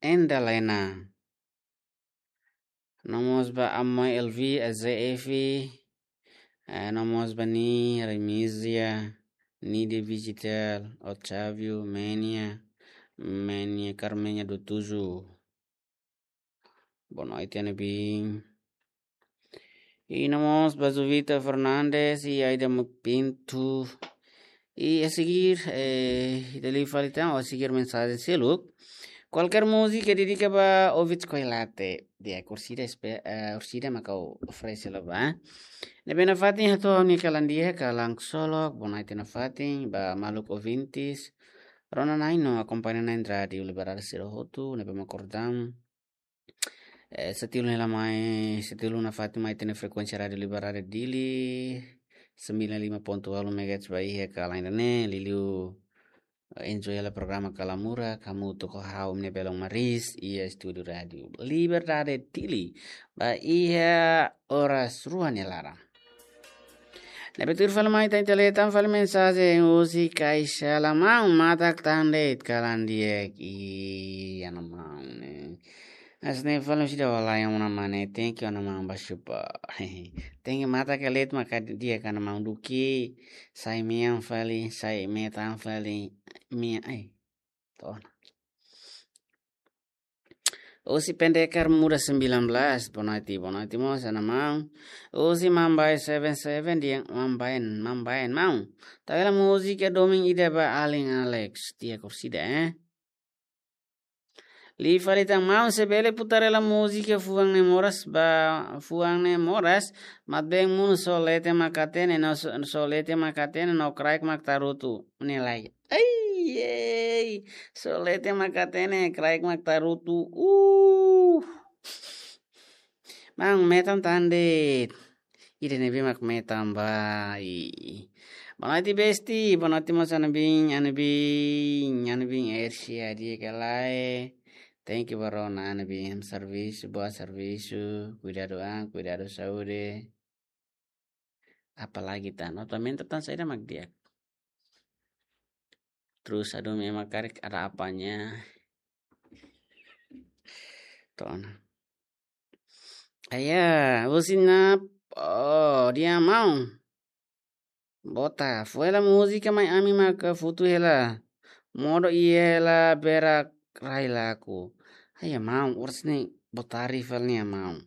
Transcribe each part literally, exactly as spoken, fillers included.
Endalena. No mós ba Amoi Elvi, Eze Efi, eh, no mós ba Ni Remisia, Ni de Digital, Otávio, Menia, Menia Carmenia do Tuzu. Boa noite, Ana Bin. I no mós ba Juvita Fernandes i Aida Pinto. I a seguir, eh, ita liu fali tan, ou a seguir mensajen seluk. Kualkér múzika dedika ba Ovid Koilate. Di'ak, orsida espe-, eh, orsida mak ha'u oferese hela ba. Ne'ebé nafatin hato'o ha'u-nia kalan di'ak, kalan ksolok, boa noite nafatin, ba maluk ouvintes. Rona-na'in no akompaña na'in rádiu Liberdade sira hotu, ne'ebé mak kordam. Eh, setiap hela mai, setiap nafatin mai iha ne'e frekuénsia Rádiu Liberdade Dili, sembilan lima ponto walu megahertz ba iha kalan ida-ne'e, liuliu, eh, enjoy hela programa Kalamura, hamutuk ho ha'u Mine Belong Maris, iha estúdiu Rádiu Liberdade Dili, ba iha oras rua nia laran. Ne'ebé tuir fali mai ita-nia tele tan fali mensajen husi Kaisa Lamau, matak tan de'it kalan di'ak, i ana maun ne'e. Hanesan ne'e fali sida wala yang una mane, thank you ana maun ba supa. Thank you matak de'it maka di'ak ana maun duké, sai mean fali, sai metan fali, mean, ai. To'o ona. Husi Pendekar Muda sembilan belas, boa noite, boa noite mós, ana maun. Husi Mambai seven seven, di'ak Mambai, Mambai, maun. Tau hela múzika domin ida ba alin Alex, di'ak orsida, eh. Liu fali tan maun, se bele putar hela múzika Fuan Ne'e Moras ba, Fuan Ne'e Moras, Mat Been Munu, só leten mak hatene, no só, só leten mak hatene, no kraik mak tarutu, ne'e lai. Ai, ei, só leten mak hatene, kraik mak tarutu. Uh. Maun, metan tan de'it. Ida ne'ebé mak metan ba, i. Boa noite, besti. Boa noite mós, ana Bin, ana Bin, ana Bin Ersia, di'ak ka lae. Thank you, barona, ana Bin. Servisu, boa servisu. Kuidadu an, kuidadu saúde. Apalagi tan, no, também tan saida mak di'ak. Terus, aduh, memang karik ada apanya. To'o ona. Aya, husi Nap, oh, di'ak maun. Bota, fó hela múzika mai ami maka futu hela. Modo iha hela berak rai laku. Aya maun, oras ne'e bota rival nia maun.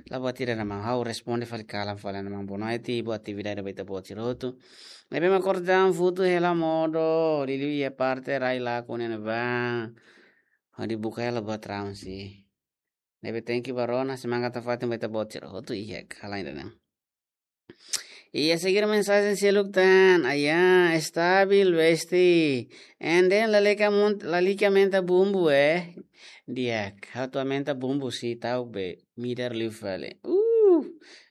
La buat ida ana maun, ha'u responde fali kalan fali ana maun, boa noite, boa atividade ba ita-boot sira hotu. Ne'ebé mak kordam futu hela modo, liuliu iha parte rai laku ne'ebá. Hodi buka hela buat raun si. Ne'ebé thank you barona, semangat nafatin ba ita-boot sira hotu iha kalan ida-ne'e. I a seguir mensajen seluk tan, aya, estabil, besti. And then lalika mun-, lalika aumenta bumbu, eh. Di'ak, ha'u atu aumenta bumbu si tau be, midar liu fali. Uh,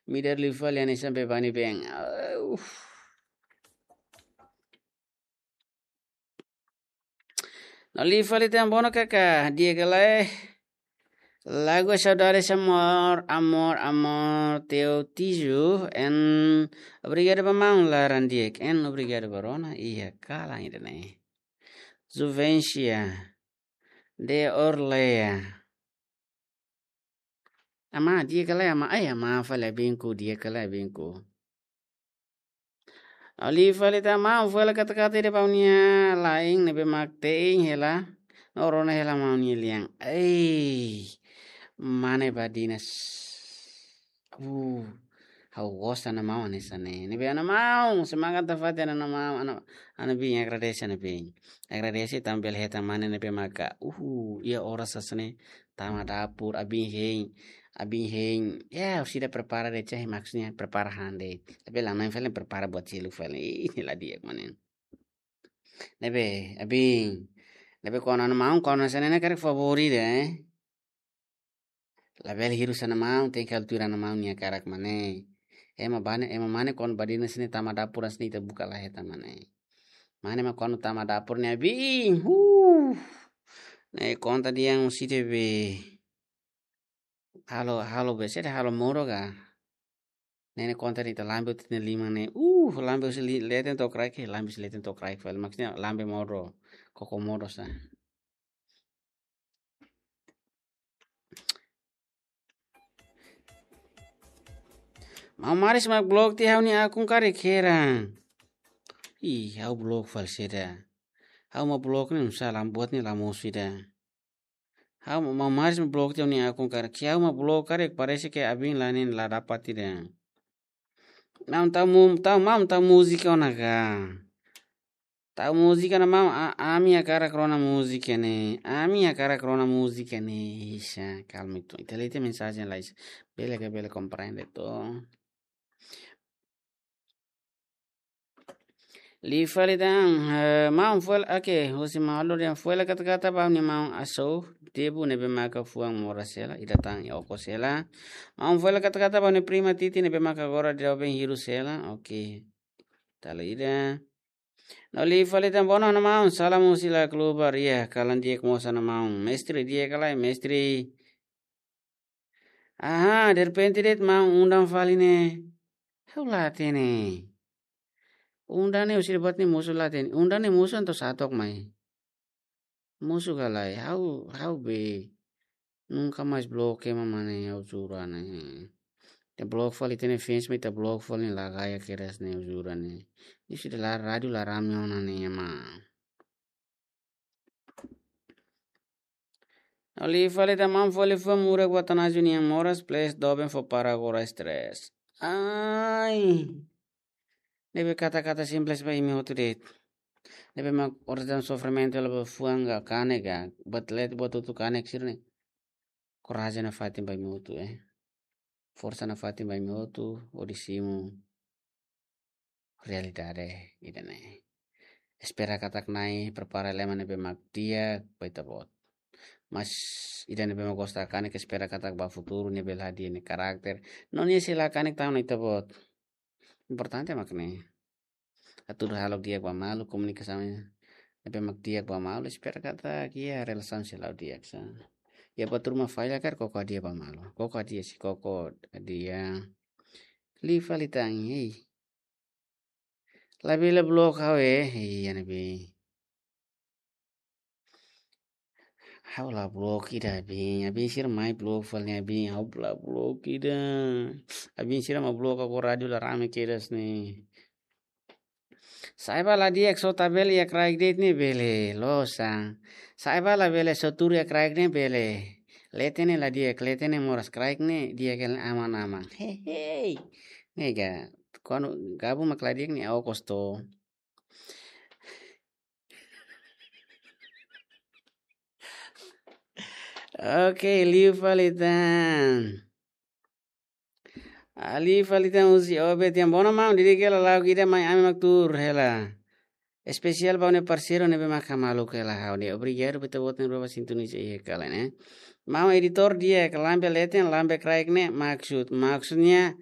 midar liu fali, ani sampai bani beng. Uh. No liu fali tan bono kaka, di'ak ka lae. Lagu Saudades Amor, Amor, Amor, Teu Tizu, en obrigadu ba maun laran di'ak, en obrigadu barona, iha kalan ida-ne'e. Juvencia, de Orleia. Ama, di'ak ka lae, ama, ai, ama, fali abinku, di'ak ka lae abinku. Liu fali tan maun, fó hela kata-kata ida ba ha'u-nia laen, ne'ebé mak te'in hela, no rona hela maun nia lian. Ei, mane Badinas. Uh, ha'u gosta ana maun hanesan ne'e. Ne'ebé ana maun, semangat nafatin ana maun, ana, ana Bin, agradese ana Bin. Agradese tanba bele hetan mane ne'ebé maka. Uh, iha oras hanesan ne'e, tama dapur, abin hein, abin hein. Ya, orsida prepara de'it, maksudnya prepara han de'it. Tapi la main film prepara buat seluk fali. Ih, la di'ak mane. Ne'ebé, abin. Ne'ebé kuandu ana maun, kuandu hanesan ne'e karik favór ida, eh. Labele hirus ana maun, tenke altura ana maun nia karak mane. Ema bane, ema mane kuandu Badinas ne'e tama dapur hanesan ne'e ita buka la hetan mane. Mane mak kuandu tama dapur ne'e abin. Huh. Ne'e konta dehan orsida be. Halo, halo be, sede halo modo ka. Ne'e ne'e konta dehan ita lambe tiha nia liman ne'e. Uh, lambe husi li-, leten to'o kraik, lambe husi leten to'o kraik fali. Maksudnya lambe modo, koko modo sa. Maun Maris mak blok tiha ha'u-nia akun karik heran. Ih, ha'u blok fali saida. Ha'u mak blok ne'e, salam buat ne'e la mosu ida. Ha'u mak, Maun Maris mak blok tiha ha'u-nia akun karik. Ke ha'u mak blok karik, parese ke abin la nen la dapat ida. Maun tau mu-, tau maun tau múzika ona ka. Tau múzika ona maun, a-, ami hakarak rona múzika ne'e. Ami hakarak rona múzika ne'e. Isa, kalma itu. Ita lee tiha mensajen lai. Bele ka bele komprende to. Liu fali tan, eh, maun fali, oke, husi malu dia fali kata-kata ba ha'u-nia maun Aso, Debu ne'ebé maka fuan moras hela, ida tan iha okos hela. Maun fali kata-kata ba ha'u-nia prima Titi ne'ebé maka agora doben hirus hela, oke. Tala ida. No liu fali tan bono na maun, salam husi la klubar, iha kalan di'ak mós ona maun. Mestre di'ak ka lae, mestre. Aha, derrepente de'it maun undang fali ne'e. Ha'u la hatene. Undang ne'e husi debat ne'e mosu la hatene. Undang ne'e mosu entaun sá took mai. Mosu ka lae, ha'u, ha'u be. Nunka mais blok ema mane, ha'u jura ne'e. Ita blok fali ita-nia fans, mak ita blok fali ne'e la gaya kedas ne'e, ha'u jura ne'e. Ne'e sudah la rádiu la rame ona ne'e ema. Liu fali tan maun fali fuan murak buat Atanásio nian moras, please doben fó para agora stress. Ai. Ne'ebé kata-kata simples ba imi hotu de'it. Ne'ebé mak orasaun sofrimentu la ba fuan ka kanek ka, buat leten buat hotu kanek sira-ne'e. Korajen nafatin ba imi hotu, eh. Forsa nafatin ba imi hotu, hodi simu realidade ida-ne'e. Espera katak Na'i prepara ema ne'ebé mak di'ak ba ita-boot. Mas ida ne'ebé mak gosta kanek, espera katak ba futuru nia bele hadi'a nia karakter. No nia sei la kanek tan ona ita-boot. Importante mak ne'e. Atu halo di'ak ba malu, komunikasaun ne'ebé mak di'ak ba malu, espera katak iha relasaun sei la'o di'ak sa. Iha buat ruma falla karik koko hadi'a ba malu. Koko hadi'a, sei koko hadi'a. Liu fali tan, hei. Labele blok ha'u, eh, iha ne'ebé. Ha'u la blok ida abin, abin sira mai blok fali ne'e abin, ha'u la blok ida. Abin sira mak blok ha'u, rádiu la rame kedas ne'e. Sa'e ba la di'ak só tabel iha kraik de'it ne'e bele, loos sa. Sa'e ba labele só tuur iha kraik ne'e bele. Leten ne'e la di'ak, leten ne'e moras, kraik ne'e di'ak hela aman-aman. Hei, hei. Ne'e ka, kuandu gabung mak la di'ak ne'e okos to. Oke, liu fali tan. Ah, liu fali tan husi Obed tiha ona maun, diri kela lauk ida mai ami mak tuur hela. Espesiál ba ha'u-nia parseiru ne'ebé mak hamaluk hela ha'u ne'e. Obrigadu ba ita-boot ne'ebé mak sintoniza iha kala ne'e. Maun editór di'ak, lambe leten, lambe kraik ne'e maksud. Maksudnya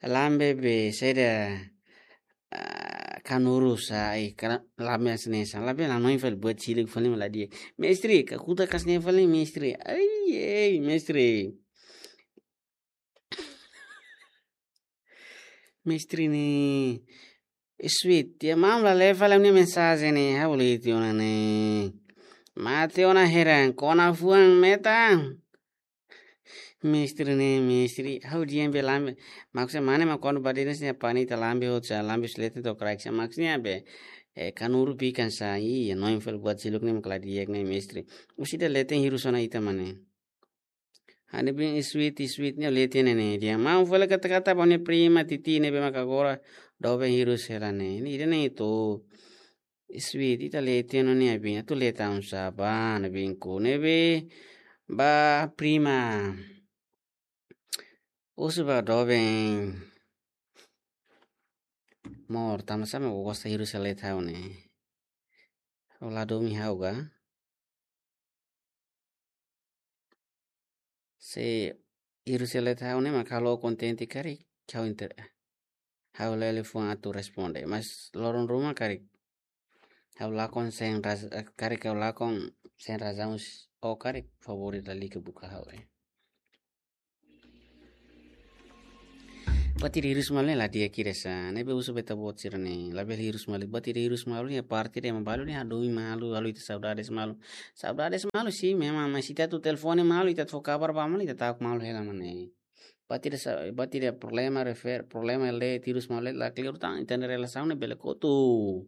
lambe be, saida, ah, kanuru sa, eh, kra-, lambe hanesan ne'e sa, lambe la noin fali buat siluk fali mak la di'ak. Mestre, kakutak hanesan ne'e fali mestre. Ai, ei, mestre. Mestre ne'e. Sweet, tiha maun la lee fali ha'u-nia mensajen ne'e, ha'u lee tiha ona ne'e. Mate ona heran, kona fuan metan. Mestre ne'e, mestre, ha'u di'ak be lambe. Maksudnya mane mak kuandu ba de'it ne'e sini pani ita lambe hotu sa, lambe husi leten to'o kraik sa. Maksudnya be, eh, kanuru bikan sa, iya, noin fali buat siluk ne'e mak la di'ak ne'e, mestre. Husi ida leten hirus ona ita mane. Ha'u-nia bin sweet, sweet ne'e leten ne'e, di'ak maun fali kata-kata ba ha'u-nia prima Titi ne'ebé mak agora doben hirus hela ne'e. Ne'e ida-ne'e atu. Sweet, ita leten ona ne'e abin, atu leten sá ba ne'ebé ku ne'ebé ba prima. Husu ba doben. Amor, tanba sá mak ó gosta hirus hela leten ha'u ne'e. Ó la domin ha'u ka? Se hirus hela leten ha'u ne'e mak halo kontente karik, ha'u inter-, ha'u lele fuan atu responde. Mas loron ruma karik. Ha'u lakon sem raz-, karik ha'u lakon sem razaun s-, ó karik favór lalika buka ha'u, eh. Buat ida hirus malu ne'e la di'ak ida sa, ne'ebé husu ba ita-boot sira-ne'e, labele hirus malu, buat ida hirus malu ne'e parte de ema balu ne'e hadomi malu, halo ita saudades malu. Saudades malu, sim, memang, mas ita atu telefone malu, ita atu fó kabar ba malu, ita ta'uk malu hela mane. Buat ida sa, buat ida problema refer, problema le tirus mole la clear tan, ita-nia relasaun ne'e bele kotu.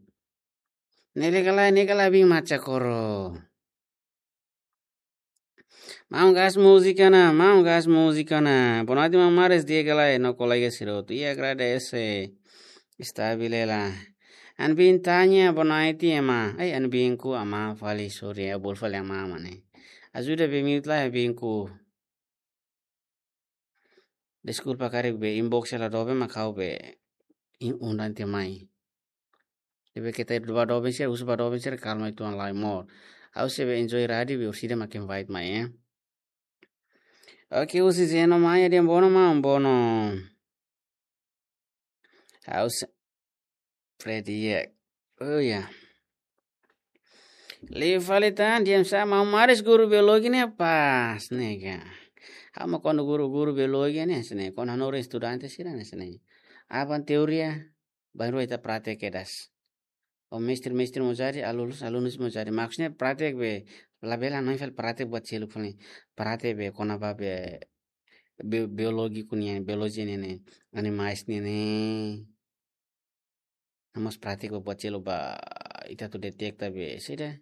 Ne'e ka lae, ne'e ka lae, bin macha koro. Maun gas múzika ona, maun gas múzika ona. Boa noite, maun Maris, di'ak ka lae, no kolega sira hotu. I agradese. Estabil hela. Ha'u-nia bin tanya, boa noite, ema. Ai, ha'u-nia binku, ama, fali, sorry, ha'u bolu fali ama, mane. Ajuda be mute lai, binku. Deskulpa karik be inbox hela doben mak ha'u be in undan te mai. Ne'ebé keta ba doben sira, husu ba doben sira, kalma uitoan lai mós. Ha'u sei be enjoy rádiu be orsida mak invite mai, eh. Oke, husi Zeno Maia, di'ak, bono maun, bono. Ha'u sei Fred, iya. Oh ya. Liu fali tan, di'ak, sa maun Maris guru biologi ne'e pas, ne'e ka. Ha'u mak kuandu guru, guru biologi ne'e, sene. Kuandu hanorin estudante sira ne'e, sene. Aban teoria, bainrua ita pratek kedas. O mestre, mestre mós jadi, alunus, alunus mós jadi. Maksudnya pratek be, labele hanoin fali pratek buat seluk fali. Pratek be, kona-ba be, bi-, biologi ku nian, biologi ne'e ne'e, animais ne'e ne'e. Ha'u mós pratek ba buat seluk ba ita atu detekta be, sida.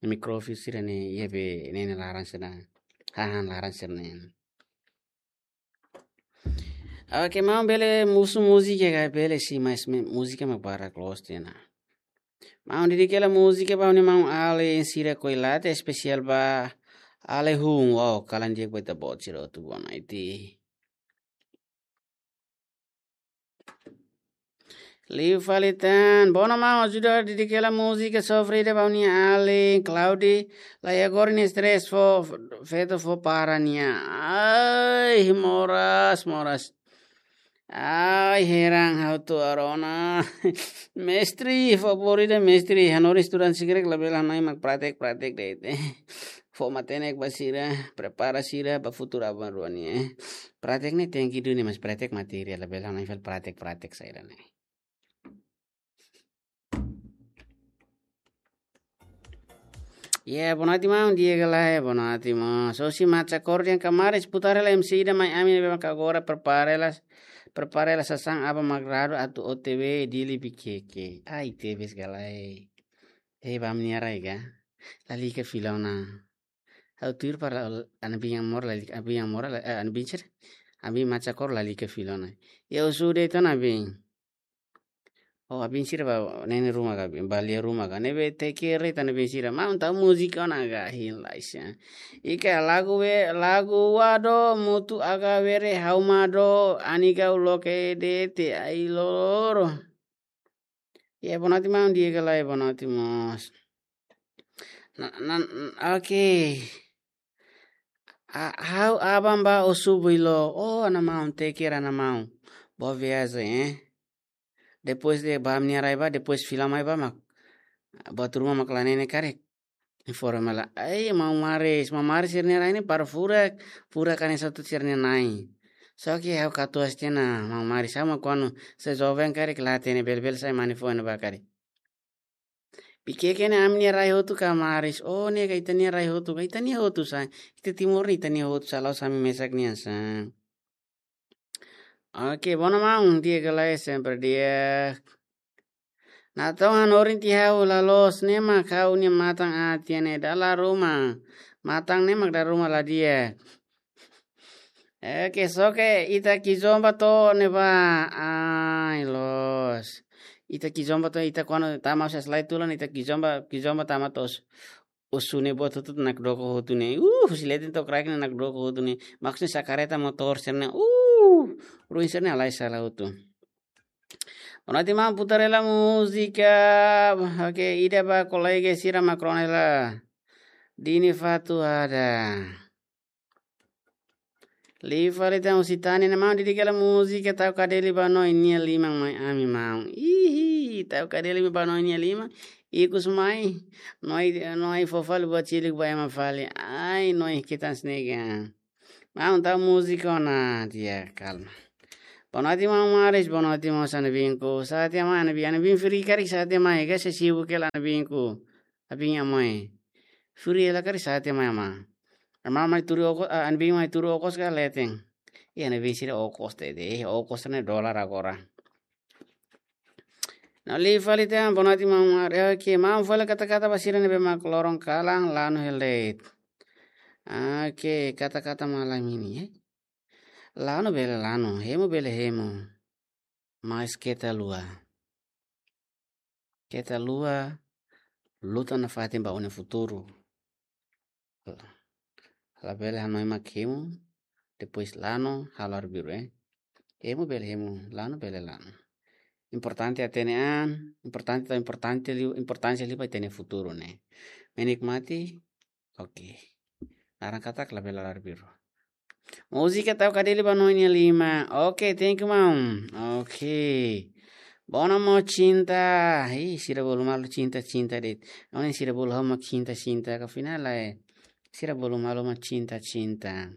Mikrofis sira ne'e, iya be, ne'e ne'e laran sira. Hahán laran sira ne'e. Oke, maun bele husu múzika ka, bele si, mas me-, múzika mak barak loos tiha ona. Maun, dedika hela múzika ba ha'u-nia maun alin sira Koilate, espesiál ba alin hun, wow, kalan di'ak ba ita-boot sira hotu, boa noite. Liu fali tan, bono maun, ajuda dedika hela múzika sofrida ba ha'u-nia alin Claudi, la iha agora nia stress fó, feto fó para nia. Ai, moras, moras. Ai, heran ha'u atu rona. Mestre, favór ida, mestre. Hanorin estudante sira karik labele hanoin mak pratek, pratek de'it. Fó matenek ba sira, prepara sira ba futuru aban-rua nian, eh. Pratek ne'e tenke duni, mas pratek materiál, labele hanoin fali pratek, pratek saida ne'e. Ya, boa noite, maun, di'ak ka lae, boa noite, maun. Só si macha koro dehan kamaris putar hela M C ida mai ami ne'ebé mak agora prepara hela, prepara hela sasán aban mak radu atu O T W Dili Viqueque. Ai, tebes ka lae. Eh, ba ami-nia rai ka. Lalika fila ona. Ha'u tuir para ha'u-nia bin amor lalika, ha'u-nia bin amor la, eh, ha'u-nia bin sira. Ha'u-nia bin macha koro lalika fila ona. Ya, husu de'it ona bin. Oh, ha'u-nia bin sira ba ne'e nia ruma ka, ba lia ruma ka. Ne'ebé teke re tan bin sira. Maun tau múzika ona ka hin laisa. Ika lagu be, lagu wado mutu aga were hau mado ani kau loke de'it ai loro. Ya, boa noite, maun, di'ak ka lae, boa noite mós. Na, na, oke. A, ha'u aban ba Osu Builo. Oh, ha'u-nia maun, teke re ha'u-nia maun. Boa viajen, eh. Depois de ba ami-nia rai ba, depois fila mai ba mak. Buat ruma mak la nene karik. Informa la. Ai, maun Maris, maun Maris sira-nia rai ne'e para furak, furak hanesan hotu sira-nia na'in. Só ke ha'u katuas tiha ona, maun Maris, ha'u mak kuandu sei joven karik la hatene, bele-bele sai mane foin ba karik. Viqueque ne'e ami-nia rai hotu ka Maris? Oh, ne'e ka ita-nia rai hotu ka, ita-nia hotu sa. Ita Timor ne'e ita-nia hotu sa, la'ós ami mesak nian sa. Oke, bono maun, di'ak ka lae, sempre di'ak. Natoon hanorin tiha ha'u la loos, ne'e mak ha'u-nia matan aat tiha ne'e dala ruma. Matan ne'e mak dala ruma la di'ak. Oke, só ke ita kizomba to'o ne'ebá. Ai, loos. Ita kizomba to'o, ita kuandu tama husi Aslai Tulun, ita kizomba, kizomba tama to'o Osu ne'e buat hotu nakdoko hotu ne'e. Uh, husi leten to'o kraik ne'e nakdoko hotu ne'e. Maksudnya sa kareta motór sira ne'e. Uh, ruin sira ne'e halai sala hotu. Boa noite, maun, putar hela múzika. Oke, ida ba kolega sira mak rona hela. Dini Fatu ada. Liu fali tan husi Tani, ne'e maun, dedika hela múzika Tau Kadeli ba Noi nia Liman mai ami, maun. Ihi, Tau Kadeli ba Noi nia Liman. Ikus mai, Noi, Noi fó fali buat seluk ba ema fali. Ai, Noi kitas nega. Maun, tau múzika ona, di'ak, kalma. Boa noite, maun Maris, boa noite, maun, ha'u-nia binku. Sa'e tiha mai, ha'u-nia bin, ha'u-nia bin fri karik sa'e tiha mai, ka sei sibuk hela ha'u-nia binku. Ha'u-nia bin amoi. Fri hela karik sa'e tiha mai, maun. Maun mai tuur okos, ah, ami-nia biin mai tuur okos ka leten. Iha ne'ebé sira okos tete, eh, okos ne'e dolar agora. Na'in-lima fali tiha, bonati maun Ari, oke, maun fali kata-kata ba sira ne'ebé mak loron kalan lanu iha leet. Oke, kata-kata malam ini, eh. Lanu bele lanu, hemu bele hemu. Mas keta lua. Keta lua, luta nafatin ba ó-nia futuru. Labele hanoin mak hemu, depois lanu, halo arbiru, eh. Hemu bele hemu, lanu bele lanu. Importante hatene an, importante, importante liu, importánsia liu ba ita-nia futuru ne'e. Menikmati, oke. Laran katak labele halo arbiru. Múzika tau kadeli ba na'in-lima. Oke, thank you, maun. Oke. Bona mo cinta. Ih, sira bolu malu cinta, cinta de'it. Aun sira bolu ha'u mak cinta, cinta. Ka final lae. Sira bolu malu mak cinta, cinta.